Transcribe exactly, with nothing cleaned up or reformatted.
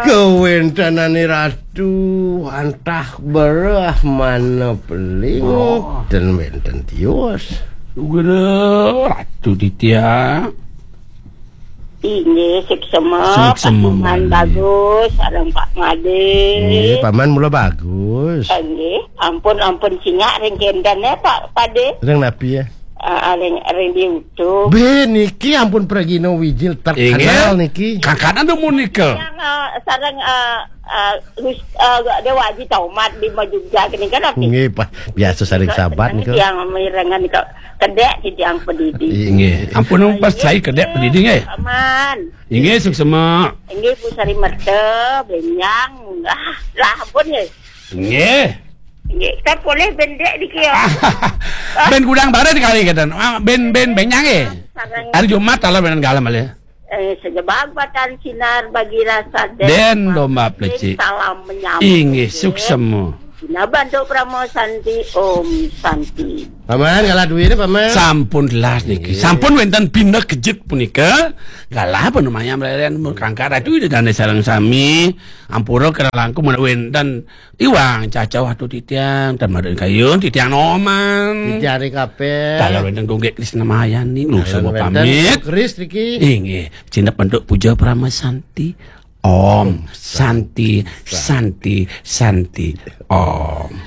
Kawéntenane Ratu, antah bereh mana peling, oh, ten wénten tios. Guru Ratu Titiang. Inggih, suksema, suksema, Pak Iman Made. Bagus, sareng Pak Made. Nggih, Paman mula bagus. Inggih, ampun, ampun singak ring kénten, eh, Pak Pade. Ring napi, ya? Ah, ah, ring, ring di YouTube. Bé, niki ampun pragina wijil terkenal. Inggih. Niki. Kakanan dumun nika. Yang, ah, sareng, ah, ah, Lus-, ah, Déwa Aji Tomat di Majugja kene kan, Pak? Nggih, Pak. Biasa sareng sahabat nika. Yang mirengan nika kedék titiang padidi. Inggih. Ampun, pas saya kedék padidi nggih. Paman. Inggih, suksema. Inggih, Bu Sari Merta, bénjang. Ah, lah ampun nggih. Nggih. Nggih, kan polih bendék niki ya. Bén gudang baré sekali kata. Ah, bén, bén bénjang nggih. Sareng. Hari Jumat taler bén galem malih. Eh, sejebag batan sinar bagi rasa den. Den domba plecik. Salam menyambut. Inggih, suksema. Dina bantuk Parama Santi, Om Santi. Paman, galah duwine, Paman. Sampun telas niki. Iya. Sampun wénten pinekejut punika. Galah panumayam reren kangkat ratu ida dane sareng sami. Ampura kira langkung menawi wénten iwang cacah waktu titiang, tan madun kayun, titiang noman. Titiang ri kabeh. Taler wénten gunggik Krisna Mayani, nusa. Taler wénten pamit. Kris niki. Inggih, cinep bentuk puja Parama Santi. Om Santi, Santi, Santi. Om.